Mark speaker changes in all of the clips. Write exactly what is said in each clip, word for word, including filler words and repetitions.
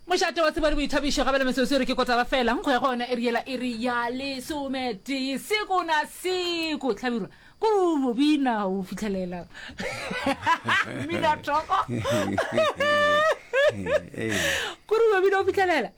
Speaker 1: Mošate wa tsebo le boithabišo gabele metsotso e re ke kotara fela nkgo ya gona e re yela iri ya lesometee seko na seko hlabirwa ko o bina o fitlhelela mmina thoko kore o bina o fitlhelela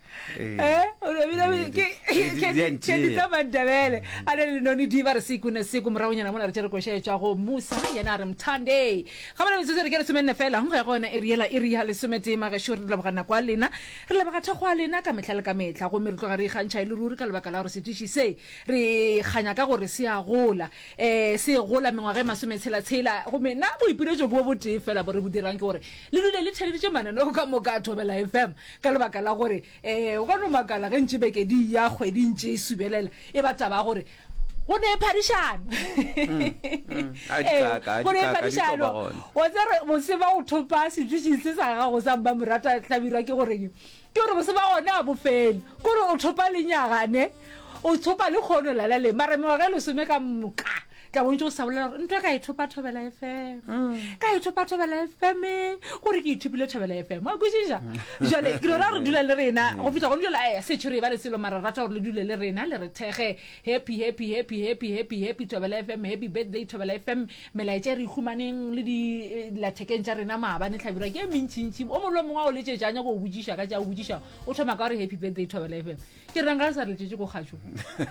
Speaker 1: tsa Mandebele a le lenone di ba re seko ne seko moragonyana mola re tšere koša e tšwa go Musa yena a re mthande ga bana metsotso re ke lesomenne fela go ya go yona e re yela e re ya lesometee magešo re leboga nako a lena re leboga thekgo a lena ka mehla le ka mehla gomme re tloga re ikgantšha e le ruri ka lebaka la gore setiši se re kganya ka gore se a gola um se gola mengwaga e masometshela-tshela gomme nna boipiletšo bo botee fela bo re bo dirang ke gore le dule le theleditše mananeo ka moka a Thobela F M ka lebaka la gore um o ka no makala ge ntše beke di ya kgwedi ntše e subelela e ba taba ya gore go ne phadišano
Speaker 2: A di kaka, a di
Speaker 1: go ne
Speaker 2: kaka, di tlo
Speaker 1: phadišano
Speaker 2: ba gona.
Speaker 1: wa tsere moseba o thopa setiši se sa gago sa mmamorata hlabirwa ke goreng ke gore moseba gona a bofele kore o thopa lenyagane o thopa le kgono lala le mara mengwaga e lesome ka moka tla bontse o sa bolela gore ntho e ka e thopa Thobela F M ka e thopa Thobela F M gore ke ithopile Thobela F M wa kwešiša jale ke lora gore dula le rena go fihla gone jale a setšho re e ba le selo mara rata gore le dule le rena le re thege happy happy happy happy happy happy Thobela F M happy birthday Thobela F M melaetša e re e humaneng le dilathekeng tša rena maabane hlabirwa ke e mentšintši o mongwe le mongwe a o letšetša a nyako o botšiša ka tša o botšiša o thoma ka gore happy birthday Thobela F M ke reng ga le sa re letšetše ko kgašong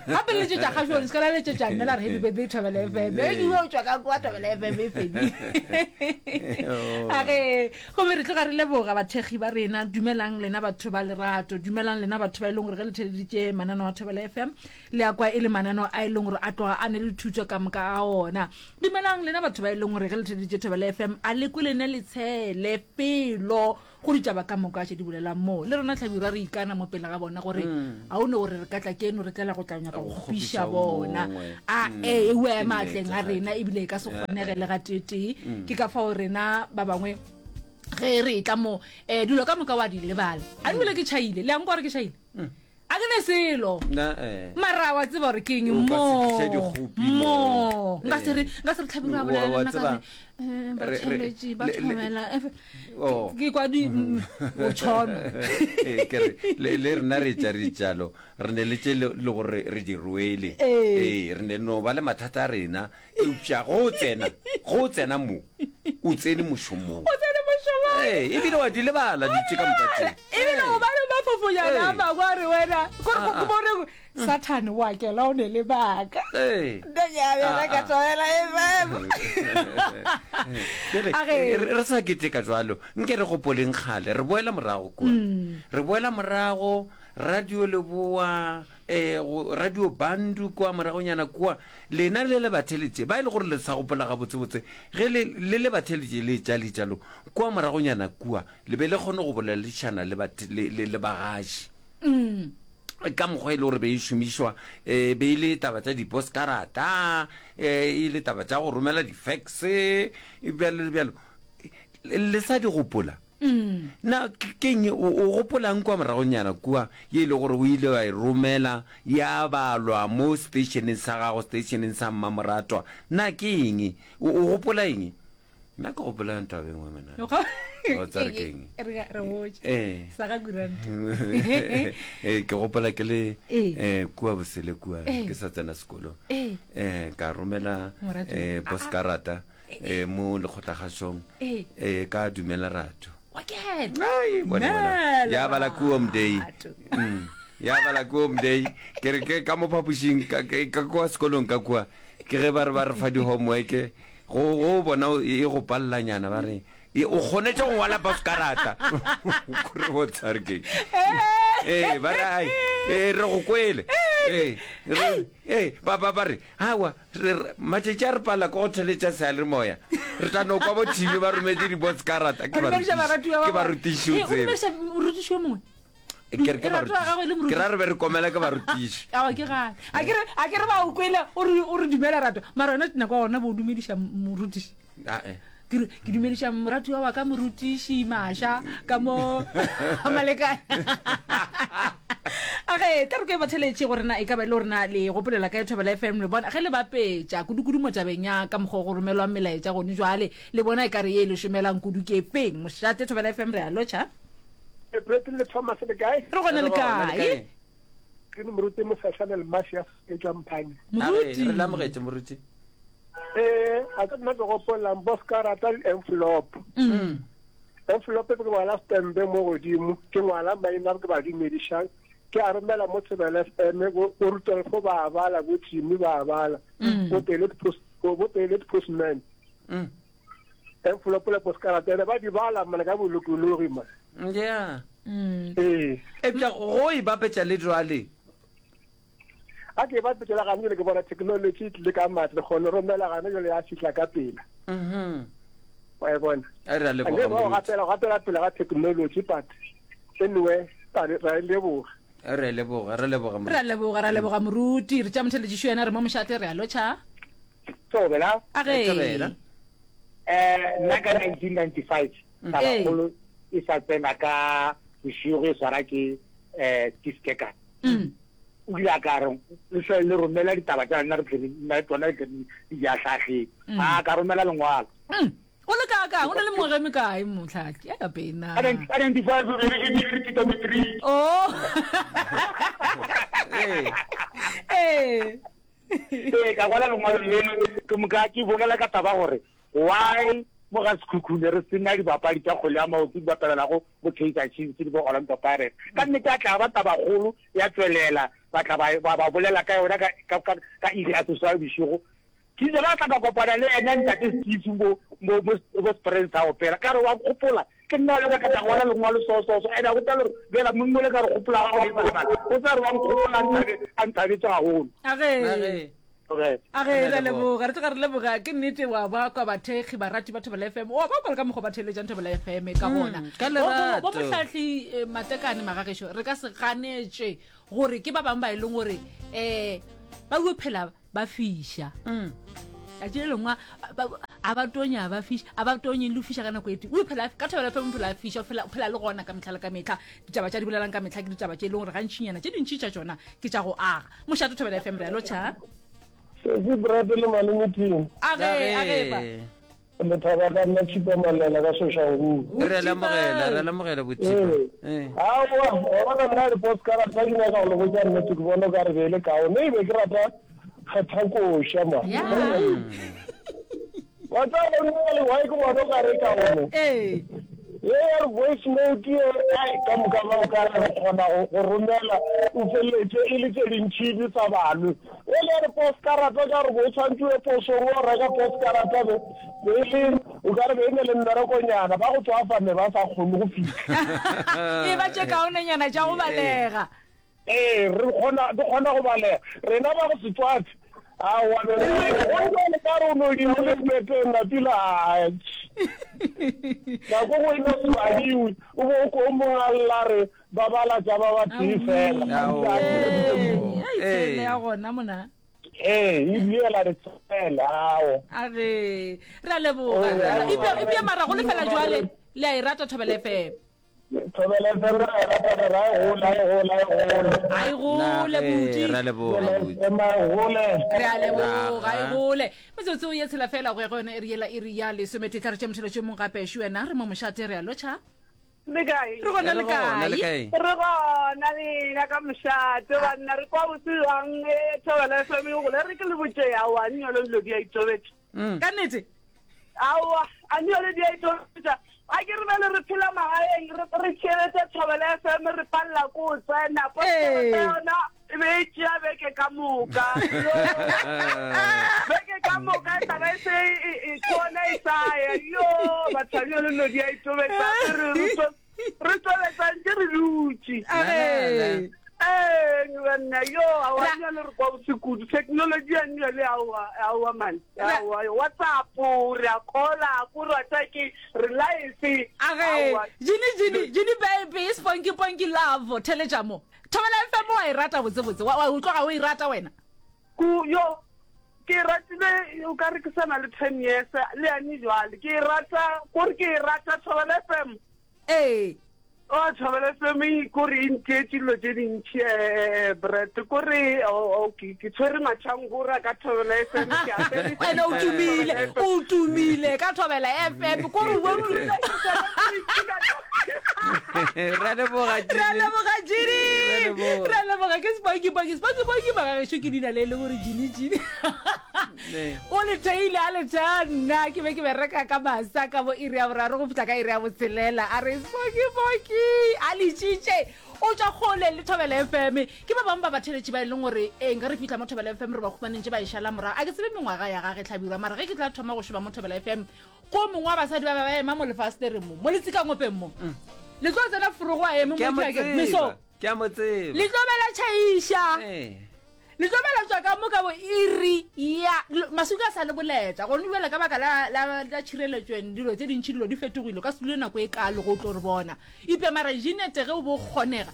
Speaker 1: gape le letšetša kgašong le se ka la letšetša nna la re happy birthday Thobela F M e ke o tšwa ka kwa Thobela F M e fedile age gomme re tloga re leboga bathekgi ba rena dumelang lena batho ba lerato dumelang lena batho ba e leng gore ge le theleditše mananeo a Thobela F M le ya kwa e le mananeo a e leng gore a tloga a ne le thuto ka moka a ona dumelang lena batho ba e leng gore ge le theleditše Thobela F M a le kwe lene le tshele felo go ditaba ka moka tše di bolelang moo le rena hlabirwa re ikana mo pele ga bona gore a o ne gore re ka tla keno re tlela go tla nyaka go kgopiša bona a e o ema atleng a rena ebile e ka se kgonege le ga tetee ke ka fao rena ba bangwe ge re tla mo um dilo ka moka wa di lebala a ebile ke tšhaile le yang gore ke tšhaile a ke ne selo
Speaker 2: Na, eh.
Speaker 1: mara wa tseba gore ke eng
Speaker 2: O ka se
Speaker 1: mo
Speaker 2: tliše dikgopi
Speaker 1: mo
Speaker 2: mo.
Speaker 1: nka se re nka se re tlhabirwa
Speaker 2: Wa-
Speaker 1: bolela
Speaker 2: wa
Speaker 1: le nna ka
Speaker 2: tseba,
Speaker 1: re eh,
Speaker 2: re- re-
Speaker 1: batheletši ba
Speaker 2: le- le-
Speaker 1: thobela eh,
Speaker 2: Oh.
Speaker 1: ke kwa di mm, o tšhono
Speaker 2: Ee, ke re le le rena re tša re tšalo re ne le tše le le gore re di rwele
Speaker 1: Ee.
Speaker 2: ee re ne no ba le mathata a rena eupša go o tsena go o tsena mo o tsene mošomong
Speaker 1: o tsene mošomong
Speaker 2: ee ebile wa di lebala ditše ka moka tše
Speaker 1: ebile o ba le mafofonyana a
Speaker 2: Ee.
Speaker 1: mangwe a re wena kore
Speaker 2: Ah, ah.
Speaker 1: bone sathane wa kela o ne lebaka
Speaker 2: ee
Speaker 1: nna ka
Speaker 2: Ah, ah.
Speaker 1: Thobela F M
Speaker 2: Bjale,
Speaker 1: A ge-
Speaker 2: re re sa keteka jalo nke re gopoleng kgale re boela morago kua re boela morago radio leboa um radio bandu kua moragonyana kua lena le le batheletše ba e le gore le sa gopola gabotsebotse ge le le le batheletše le tša letšalo kua moragonyana kua le be le kgone go boledišana le bathe- le le- le bagaši ka mokgwa e le gore be e šomišwa um be e le taba tša diposkarata um e le taba tša go romela di-fax bjalo le bjalo le sa di gopola na ke keng o o gopolang kua moragonyana kua ye e le gore o ile wa e romela ya balwa mo stationeng sa gago stationeng sa mmamoratwa na ke eng o o gopola eng nna ke gopola ntaba e nngwe mena O tsare ke eng?
Speaker 1: re re botse
Speaker 2: ee
Speaker 1: sa ga kuranta
Speaker 2: ee ke gopola ke le
Speaker 1: Ee.
Speaker 2: eh kua bosele kua
Speaker 1: Ee.
Speaker 2: ke sa tsena sekolo
Speaker 1: Ee.
Speaker 2: eh ka romela
Speaker 1: Moratuwa.
Speaker 2: eh poskarata eh mo lekgotlagašong
Speaker 1: Ee.
Speaker 2: eh ka dumela rato
Speaker 1: wa kena
Speaker 2: Ai, bone bona.
Speaker 1: Dumela
Speaker 2: ya bala kua mdei
Speaker 1: Rato.
Speaker 2: Mm. ya bala kua mdei ke re ke ka mo phapošing ka ke- ka kua sekolong ka kua ke ge ba re ba re fa di-homework go go bona o- e go palelanyana ba re e, o kgonetse go ngwala poskarata kore bo tshware ke ee ba re ai ee re go kwele ee re- ee ba ba ba re awa re- re- matšatši a re pala ke go theletša seyalemoya re tla no kwa bo T V ba rometse diposkarata ke
Speaker 1: O dumediša baratiwa ba
Speaker 2: ke
Speaker 1: bona.
Speaker 2: barutiši o
Speaker 1: Ee, o
Speaker 2: tsebe
Speaker 1: dumediša morutiši yo mongwe
Speaker 2: ke re ke
Speaker 1: Lerato la gagwe le
Speaker 2: barutiši
Speaker 1: moruti.
Speaker 2: ke ra re be re komela ke barutiši
Speaker 1: awa ke gane a ke re a ke re ba o kwele o re o re dumela rato mara yona nako ya gona bo o dumediša morutiši
Speaker 2: Ah, eh.
Speaker 1: ke re ke dumediša moratiwa wa ka morutiši maša ka mo malekane age tla re ko e batheletše gore na e ka ba e le gore na le gopolela ka Thobela F M le bona ge le bapetša kudu-kudu mo tabeng ya ka mokgwa o go romelwang melaetša gone jwale le bona e ka re ye e le šomelang kudu ke feng mošate Thobela F M re a lotšha.
Speaker 3: Brett le Thomas le kae?
Speaker 1: Re gona le
Speaker 2: Re gona, le
Speaker 1: kae?
Speaker 2: kae?
Speaker 3: Ke le moruti Mosehla le Mafia ke tšwa Mphane.
Speaker 2: A re
Speaker 1: Moruti.
Speaker 2: re lamogetše moruti.
Speaker 3: Eh, a ka nna ke gopolang bo ska rata di-envelope.
Speaker 1: Mm.
Speaker 3: Envelope ke ngwala stempe mo godimo, ke ngwala maina ke ba dumedišang. Ke a romela mo Thobela F M, bo bo Rudolfo ba bala, bo Jimmy ba bala, bo Pellet Post, bo bo Pellet Postman.
Speaker 2: Mm.
Speaker 3: Envelope le postkarata ene ba di bala mane ka bolokologi man.
Speaker 2: Yeah.
Speaker 1: Mm.
Speaker 3: Ee.
Speaker 2: Eupša go e bapetša le jwale.
Speaker 3: A ke ba petsela gane jale ke bona technology e tlile ka matla, kgone romela gane jale ya fihla ka pela.
Speaker 2: Mhm.
Speaker 3: Wa e bona.
Speaker 2: A re a
Speaker 3: Ande
Speaker 2: leboga
Speaker 3: ba
Speaker 2: moruti.
Speaker 3: gapela gapela pele ga technology but anyway ra ra e leboga.
Speaker 2: A re a leboga, re leboga
Speaker 1: Re a
Speaker 2: moruti.
Speaker 1: leboga, re a leboga moruti. Re tša motheletšišo yena re mo mošate re a lotšha.
Speaker 4: Thobela.
Speaker 1: A ge.
Speaker 2: Thobela.
Speaker 4: Eh nna ka nineteen ninety-five
Speaker 1: Ee.
Speaker 4: tabakgolo e sa tsena ka bošego e swara ke eh Tiskeka.
Speaker 1: Mm.
Speaker 4: O ile a ka re le hle le romela ditaba tša lena re tle re nna tsona re tle re di ahlahleng.
Speaker 1: Mm.
Speaker 4: A ka romela lengwalo.
Speaker 1: Mm. O le kae kae? O na le mengwaga e mekae mohlaki? Ya pena.
Speaker 4: Ka ka ninety-five re be re re ke matric.
Speaker 1: Oh.
Speaker 2: Ee.
Speaker 1: Ee.
Speaker 4: Ee, ka kwala lengwalo leno ke moka ke bolela ka taba gore why mo ga Sekhukhune re sena dibapadi tša kgwele ya maoto di bapalelago bo Kaizer Chiefs le bo Orlando Pirates. Ka nnete a tla ba tabakgolo ya tswelela ba tla ba ba ba bolela ka yona ka ka ka ka iri ya seswai bošego. Ke ile ka tla ka kopana le yena ntate Steve mo mo mo mo Springs a opela ka re wa nkgopola ke nna le ka ka tla ngwala lengwalo so so so ene a botsa le gore bjela monna o le ka re gopola ga go lebala o tla re wa nkgopola a nthabe a nthabetse gagolo.
Speaker 1: A ge.
Speaker 2: A ge.
Speaker 4: Okay.
Speaker 1: A ge,
Speaker 2: Re
Speaker 1: re a
Speaker 2: a
Speaker 1: leboga, re tloga re leboga ke nnete wa ba kwa bathekgi barati ba Thobela F M wa ba kwa le ka mokgwa ba theeletšang Thobela F M ka gona.
Speaker 2: ka
Speaker 1: Bo- bo- bo
Speaker 2: lerato.
Speaker 1: mohlahli eh, Matekane magagešo re ka se ganetše gore ke ba bangwe ba e leng gore um ba o phela ba fiša.
Speaker 2: Mm.
Speaker 1: Tšatši le lengwe a- ba- a ba tonya, a ba fiša, a ba tonye le go fiša ka nako e tee. O phela ka Thobela F M o phela a fiša, o phela, o phela le gona ka mehla le ka mehla. Ditaba tša di bolelang ka mehla ke ditaba tše e leng gore gantšinyana tše dintši tša tšona ke tša go aga. Mošate Thobela F M re a lotšha.
Speaker 3: Sesi Brad le malome team.
Speaker 1: A ge, a ge ba.
Speaker 3: Le thaba ka nna Chipa Malela ka Soshanguve.
Speaker 2: Re a lemogela, re a lemogela boThipa.
Speaker 3: Ee.
Speaker 2: Ee.
Speaker 3: Aowa, wa bona nna di-postcard tsa ke nyaka go le botša nnete ke bona o ka re be e le kaone e be ke rata kgetha koša ma.
Speaker 1: Ya.
Speaker 3: Wa tseba go nna le why ke bona o ka re kaone.
Speaker 1: Ee.
Speaker 3: Ye ya re voice note ye, ai, ka moka ba o ka re re kgona go, go romela, o feleletše e le tše dintši di sa balwe. E le ya re postcard ka gore o tshwantse o ye posong o reka postcard be, be e le, o ka re be e ne le mmerekonyana, ba go tswafa ne ba sa kgone go fihla.
Speaker 1: E ba tše kaonenyana tša go balega.
Speaker 3: Ee, re kgona, di kgona go balega. Rena ba go se tswafe, aowa, be re, go jwale ka re o no di o le beteng napile, ai. Nako nngwe e no se badiwe, o bo o ko o mongwe a lla re ba bala tša ba ba tee fela.
Speaker 2: Aowa.
Speaker 1: Ee, ai,
Speaker 2: Ee.
Speaker 1: tsele ya gona mona.
Speaker 3: Ee, e diela re tsela, ao.
Speaker 1: A ge, re a leboga.
Speaker 3: Re a leboga.
Speaker 1: Ebile, ebile mara go lefela jwale, le a e rata Thobela F M.
Speaker 3: Thobela F M re a e rata, re ra e gola, e gola, e gole.
Speaker 1: A e gole,
Speaker 2: Na ge,
Speaker 1: buti.
Speaker 2: re a leboga,
Speaker 3: Thobela
Speaker 2: buti.
Speaker 3: F M a e gole.
Speaker 1: Re a leboga,
Speaker 2: Naga.
Speaker 1: e gole. Metsotso ye tshela fela go ya go yona iri yela iri ya lesometee. Tla re tše motheletšo o mongwe gape. Šo wena, re mo mošate, re a lotšha.
Speaker 5: Le kae?
Speaker 1: Re gona le
Speaker 2: Re gona le
Speaker 1: kae?
Speaker 2: kae?
Speaker 5: Re gona lena ka mošate banna re kwa botse jwang e Thobela F M e gole re ke le botše aowa a nnyole dilo di a itobetša.
Speaker 2: Mm.
Speaker 1: Ka nnete?
Speaker 5: Aowa a nnyole di a itobetša. A ke re bjale re phela magaeng re re tšhelete Thobela F M re palela ko o tsena
Speaker 1: Ee.
Speaker 5: postcard yona e be e tšea beke ka moka. Yo. Beke ka moka e tla ba e se e, e, kona e sa ya. Yo, batho ba nnyole dilo di a itobetša. Re, re, re, re tobetsantše re dutše.
Speaker 1: A ge.
Speaker 5: Ee, banna, yo, aowa,
Speaker 1: Ra-
Speaker 5: nnyole re kwa bose kudu. Technology ya nnyole, aowa, aowa, man.
Speaker 1: Ra-
Speaker 5: Aowa, WhatsApp, re a call-a, ko re wa tseba ke re live.
Speaker 1: A ge,
Speaker 5: Aowa.
Speaker 1: Jini, Jini, Jini baby, sponky, ponky love, theletša mo. Thobela F M wa e rata botsebotse, wa, wa utlwa ga o e rata wena?
Speaker 5: Ku, yo, ke e ratile, o ka re ke sa na le ten years, le yane jwale. Ke e rata, kore ke e rata Thobela F M.
Speaker 1: Ee.
Speaker 5: O Thobela F M e kore e ntietše dilo tše dintši eh Brett kore o ke ke tshwere matšhangora ka Thobela F M ke apere
Speaker 1: Ene o tumile, o tumile ka Thobela F M kore o
Speaker 2: Ra leboga
Speaker 1: Ra
Speaker 2: Jimmy.
Speaker 1: leboga Jimmy.
Speaker 2: Ra leboga.
Speaker 1: Ra leboga ke Sponky Ponky. Sponky Ponky magagešu ke leina le e le gore Jimmy Jimmy.
Speaker 2: Ne.
Speaker 1: O le theile a le thea nna ke be ke bereka ka masa ka bo iri ya boraro go fihla ka iri ya botshelela a re Sponky Ponky a letšitše o tšwa kgole le Thobela F M. Ke ba bangwe ba batheletši ba e leng gore ee nka re fihla mo Thobela F M re ba khumaneng tše ba e šala morago. A ke tsebe mengwaga ya gage Hlabirwa mara ge ke tla thoma go šoma mo Thobela F M ko mongwe wa basadi ba ba ba ema mo lefastereng mo mo letsikangopeng mo le tlo tsena forogo a eme
Speaker 2: Ke a
Speaker 1: mo
Speaker 2: mo
Speaker 1: ke meso
Speaker 2: tseba. Ke a mo tseba.
Speaker 1: Le tlo bela tšhaiša
Speaker 2: Eh.
Speaker 1: le tlo bela tswa ka mo ka bo iri ya masuka a sa le boletsa gone bjale ka baka la la la tšhireletšo dilo tše dintši dilo di fetogile ka se dule nako e kalo go tlo re bona ipe mara Jeanette ge o bo kgonega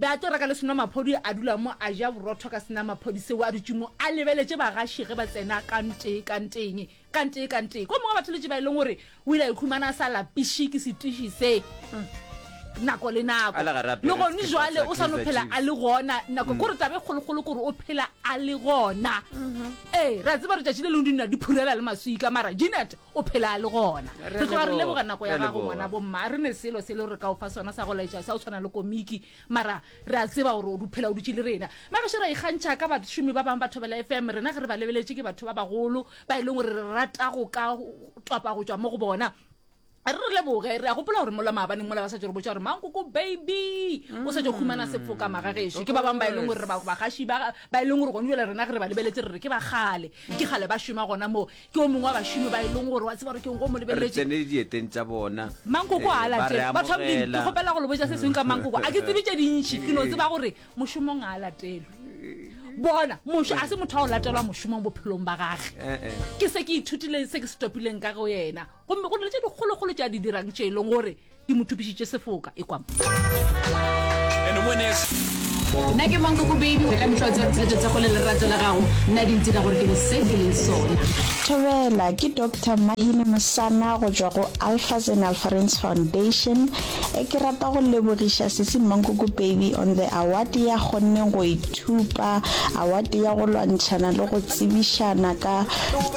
Speaker 1: be a tlo reka le senwamaphodi a dula mo a ja borotho ka senwamaphodi seo a dutše mo a lebeletše bagaši ge ba tsena ka ntee ka nteng ka ntee ka ntee ko mongwe wa batho letše ba e leng gore o ile a ikhumana a sa lapiše ke setiši se nako le nako
Speaker 2: A le gare a
Speaker 1: le
Speaker 2: apere
Speaker 1: gone
Speaker 2: sekipa
Speaker 1: jwale
Speaker 2: sa
Speaker 1: o sa no
Speaker 2: Kaizer
Speaker 1: phela
Speaker 2: Chiefs.
Speaker 1: a le gona nako kore tabe kgolokgolo kore o phela a le gona ee re a tseba letšatši le lengwe di nna di phurela le maswika mara Jeanette o phela a le gona
Speaker 2: Re
Speaker 1: re tloga re
Speaker 2: leboga,
Speaker 1: leboga nako ya
Speaker 2: re
Speaker 1: gago
Speaker 2: leboga.
Speaker 1: ngwana bomma re ne selo se le gore re ka o fa sona sa go laetša sa go tshwana le komiki mara re a tseba gore o du- phela o dutše le rena magašo ra ikgantšha ka bašomi ba bangwe ba Thobela F M rena ge re ba lebeletše ke batho ba bagolo ba e leng gore re rata go ka topa go tšwa mo go bona re re leboge re a gopola gore mola maabaneng mola ba sa tšo re botša gore Mankoko Baby o sa tšo humana sefoka magagešo ke ba bangwe ba e leng gore re ba- bagaši ba ba e leng gore gone jale rena ge re ba lebeletse re re ke ba kgale ke kgale ba šoma gona moo ke o mongwe wa bašomi ba e leng gore wa tseba gore ke eng go mo
Speaker 2: Re
Speaker 1: lebeletse
Speaker 2: tsene dieteng tša bona.
Speaker 1: Mankoko
Speaker 2: Eh,
Speaker 1: a
Speaker 2: ba re
Speaker 1: latele batho ba Modimo, ke
Speaker 2: amogela.
Speaker 1: kgopela go le botša se sengwe ka Mankoko a ke tsebe tše dintši ke no tseba gore mošomong a latelwe bona mošo a se motho wa go latelwa mošomong bophelong ba gage
Speaker 2: Eh, eh.
Speaker 1: ke se ke ithutileng se ke se topileng ka go yena gomme go na le tše dikgolokgolo tše a di dirang tše e leng gore di mo thupišitše sefoka e kwam
Speaker 6: And the winner is
Speaker 7: Nna ke Mankoko Baby ka mehla o tseba tsheletso tsa go le lerato la gago nna di ntira gore ke be se ke leng sona.
Speaker 8: Thobela ke Doctor Mahine Mosana go tšwa go Alphas and Alpharens Foundation. E ke rata go lebogiša sesi Mankoko Baby on the award ya kgonneng go ithupa award ya go lwantšhana le go tsebišana ka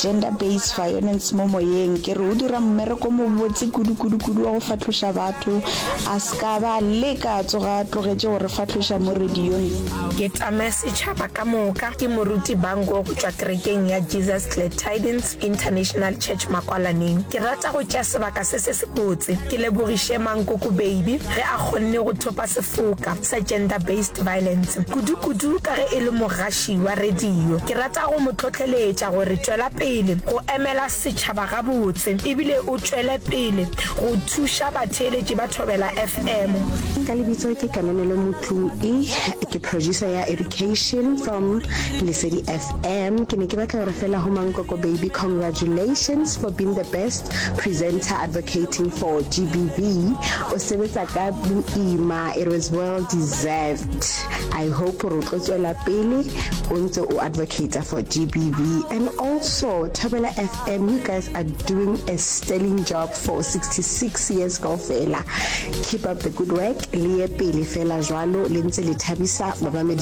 Speaker 8: gender based violence mo moyeng. Ke re o dira mmereko mo botse kudu kudu kudu wa go fahloša batho a ska ba leka a tsoga a tlogetše go re fahloša mo radiong.
Speaker 9: Ke tame setšhaba ka moka ke moruti Bango go tšwa kerekeng ya Jesus Glad Tidings International Church Makwalaneng. Ke rata go tšea sebaka se se sebotse ke lebogiše Mankoko Baby ge a kgonne go thopa sefoka sa gender based violence kudu-kudu ka ge e le mogaši wa radio. Ke rata go mo tlhotlheletša gore tšwela pele go emela setšhaba gabotse ebile o tšwele pele go thuša batheeletši ba Thobela F M.
Speaker 10: Ka lebitso ke Kananelo Motloi, ke producer ya education from Lesedi F M. Ke ne ke batla gore fela ho Mankoko Baby, congratulations for being the best presenter advocating for G B V. O sebetsa ka boima, it was well deserved. I hope gore o tlo tswela pele o ntse o advocate for G B V. And also Thobela F M, you guys are doing a sterling job for sixty-six years kaofela. Keep up the good work, le ye pele fela jwalo le ntse le thabisa bamamedi.